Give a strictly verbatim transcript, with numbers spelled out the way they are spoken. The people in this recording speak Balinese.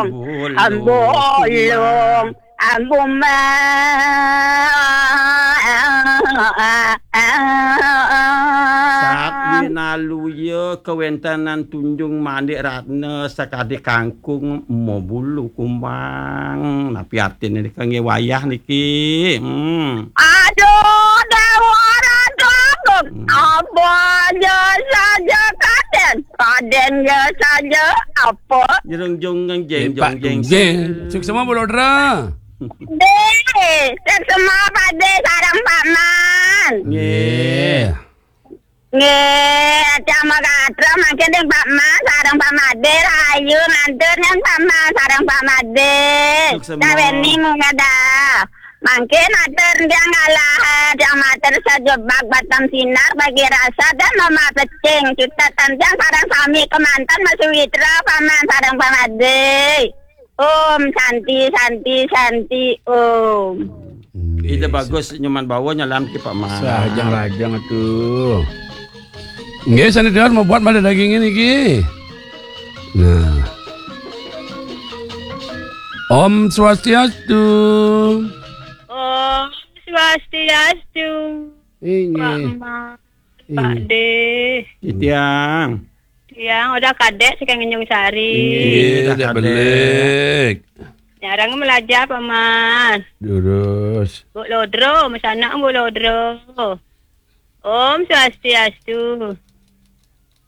Ambulung, ambulung, ambumang. Sat winaluya kawentenan tunjung mandik ratna sakadi kangkung mabulu kumbang. Napi artine nika nggih wayah niki? Hmm. Aduh, Déwa Ratu Agung. Hmm. Apa ja saja Kadén? Kadén ja saja apa? Jerung jung jeng jeng jong jeng. Nggih, suksma Bu Lodra. Dé, suksma Pak Dé sareng Pak Man. Nggih. Nggih, Cak Makatra mangkin ring Pak Man sareng Pak Madé, rahayu ngantur ring Pak Man sareng Pak Madé. Suksma. Saweni mungkada. Mangkin atur tiang kalah, tiang matur sajebag batam sinar bagi rasa dan mama pecing. Cipta tantang sareng sami kemanten masawitra Pak Man sareng Pak Madé. Om Santi, Santi, Santi, Om. Nggih, Ida bagus nyoman bawa nyalam ki Pak Man. Sajang rajang atuh. Nggih, sane dengar mau buat pada dagingin iki. Nah. Om Swastiastu. Om Swastiastu. Inggih. Pak Ma, Pak Inggih. Dé. Titiang. Tiang udah kadek saking Tanjung Sari. Inggih, Inggih, dah kadek. Belik. Nyarang melajah Pak Man. Durus. Bu Lodro, mesanak Bu Lodro. Om Swastiastu.